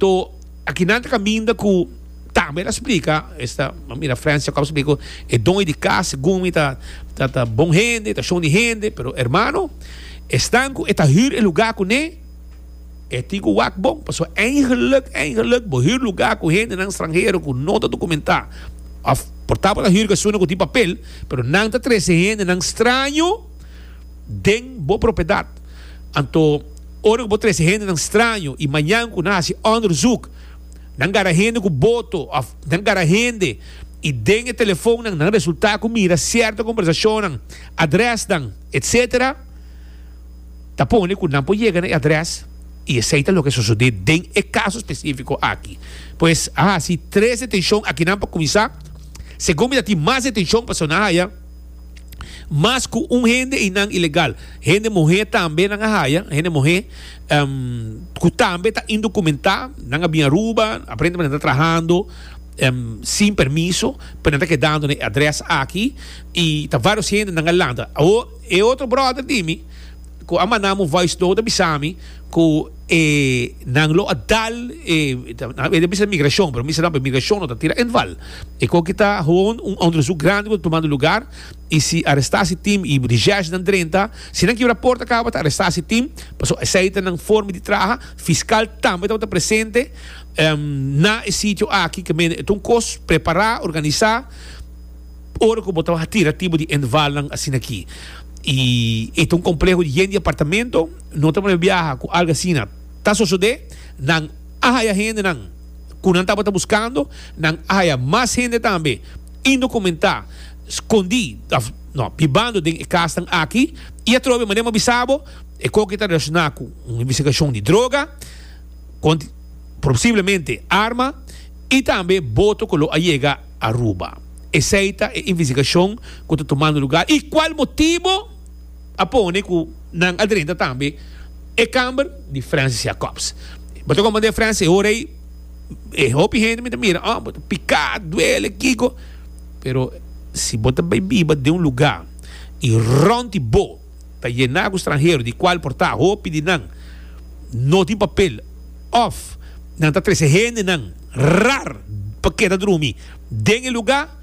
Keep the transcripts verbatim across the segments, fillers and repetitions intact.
Anto akinan ta kaminda ku tambe el a splika, esta, mira Frans Jacobs splika, e doño di kas segun mi ta ta ta bon hende, ta shon di hende, pero hermano, esnan ku e ta hür e lugá kuné, e tin ku wak bon, pasobra eigenlijk, eigenlijk bo hür lugá ku hendenan stranhero ku no ta dokumentá, òf por ta bo ta hür ku esunnan ku tin papel, pero nan ta trese hendenan straño den bo propiedat. Anto ora ku bo trese hendenan straño i mañan ku nan hasi onderzoek, nan gara hende ku boto òf nan gara hende i den e telefonnan nan resultá ku mira sierto kombersashonnan, adrèsnan, etsetera, ta pone ku nan por yega na e adrès i esei ta loke sosodé den e kaso spesífiko aki. Pues a hasi tres detenshon akinan pa kuminsá. Segun mi ta tin mas detenshon pasobra nan a haya mas ku un hende einan ilegal. Hende muhé tambe nan a haya, hende muhé ku tambe ta indokumentá. Nan a bin Aruba, aparentemente nan ta trahando sin permiso, pero nan ta kedando na e adrès aki i ta vários hende nan a lanta. Awor e otro bròder di mi ku a manda mi un voice note a bisa mi ku e nan lo a dal e e ta bisa migrashon pero mi bisa nan pero migrashon no ta tira inval e koki ta gewoon un onderzoek grandi ku ta tumando lugar i si aresta si team i recherche nan drenta si nan kibra porta kaba ta aresta si team pasobra esei ta nan forma di traha. Fiscal tambe tabata presente na e sitio aki ke mende e ta un kos prepara organisa ora ku bo ta tira tipo di invalnan asina aki. I e ta un kompleho di yen di apartamento, no ta prome biaha ku algu asina ta sosodé. Nan a haya hendenan ku nan tabata buskando, nan a haya mas hende tambe indokumentá, skondí òf no, bibando den e kasnan aki. I atrobe manera mi a bisa bo, e koki ta relashoná ku un investigashon di droga, konti posiblemente arma i tambe boto ku lo a yega Aruba. Esei ta e investigashon ku ta tumando lugar i kual motibo a pone ku nan a drenta tambe e kamber di Francis Jacobs. Bo ta komprende Francis e ora ei e hopi hende mi ta mira oh bo ta piká, duele, kiko pero si bo ta bai biba den un lugar i rònt di bo ta yená ku stranhero di kual por ta hopi di nan no tin papel òf nan ta trese hendenan rar pa keda drumi den e lugá,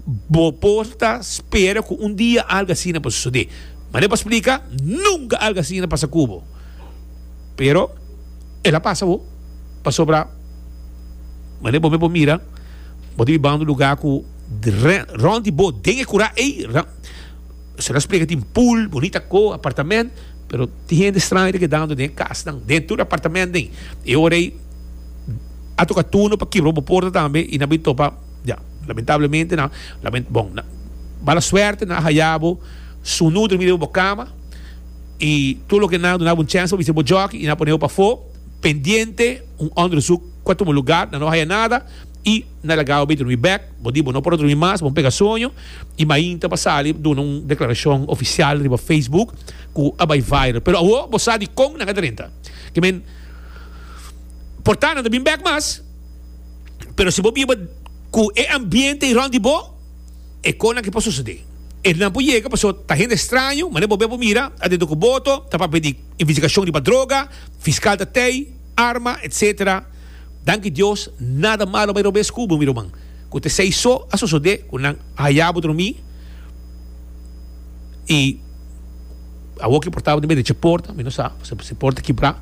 bo por ta spera ku un dia algu asina por sosodé. Manera pa splika, nunka algu asina pasa ku bo. Pero el a pasa bo, pasobra manera bo mes por mira, bo ta bibando un lugá ku rònt di bo den e kurá ei, se la splika tin pool, bunita ko, apartamènt, pero tin hende straño ta kedando den e kasnan, den tur apartamènt den. E ora ei a toka turno pa kibra bo porta tambe i nan bin topa, ya, lamentablemente nan, lamen, bon, nan, mala suerte nan a haya bo sunu drumi riba bo kama i tur loke nan a duna bo un chèns pa bisti bo jòki i nan a pone bo pafó pendiente un onderzoek ku a tuma lugar, nan no a haya nada i nan a laga bo bai drumi bèk, bo di bo no por a drumi mas, bo pega soño i mainta bo a sali duna un deklarashon ofisial riba Facebook ku a bai viral. Pero awor bo sa dikon nan a drenta. Ke men. Por ta nan ta bin bek mas, pero si bo biba ku e ambiente ei rònt di bo, e konan ke por sosodé. E nan por yega pasobra ta hende straño, manera bo be por mira adentro ku boto, ta papia di investigashon riba droga, fiskal ta tei, arma, etsetera. Danki Dios nada malo a bai robes ku bo mi ruman, ku ta esei so a sosodé ku nan a haya bo drumí i. Awor ki porta bo tin bai drecha porta, mi no sa si porta kibrá,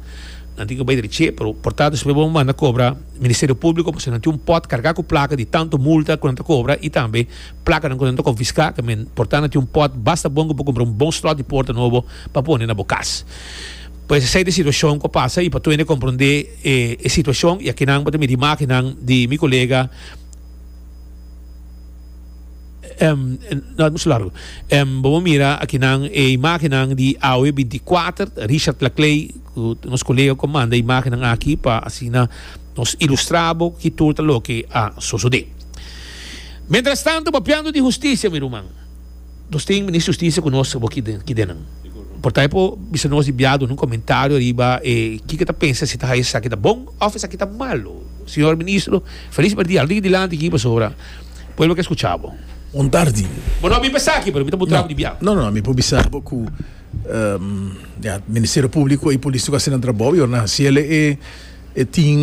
nan tin ku bai drech'é, pero porta despues bo manda kobra Ministerio Públiko pasobra nan tin un pòt kargá ku plaka di tantu multa ku nan ta kobra i tambe plakanan ku nan ta konfiská, ta men porta nan tin un pòt basta bon ku bo kumpra un bon slòt di porta nobo pa pone na bo kas. Pues esei ta e situashon ku a pasa i pa tur hende komprondé e situashon i akinan bo ta mira imágennan di mi kolega. No mucho largo. Bo por mira akinan e imagennan di awe binti kuater, Richard Laclay, ku nos kolega ku a manda e imagennan aki pa asina nos ilustra bo ki tur ta loke a sosode. Mientras tanto, papiando di hustisia, mi ruman, nos tin Minister di Hustisia ku nos abo ki den nan. Por ta e por bisa nos di bia duna un komentario riba e kiko ta pensa si ta haya esaki ta bon òf esaki ta malo. Señor Ministro, felis merdia. Lo tin dilanti aki pasobra. Pueblo ke skucha bo. Un tardi. Bo no a bin pa esaki, pero mi ta puntra bo di bia. No, no, mi por bisa bo ku ya Ministerio Públiko i polis ta hasi nan trabou i ora nan hasiel e tin.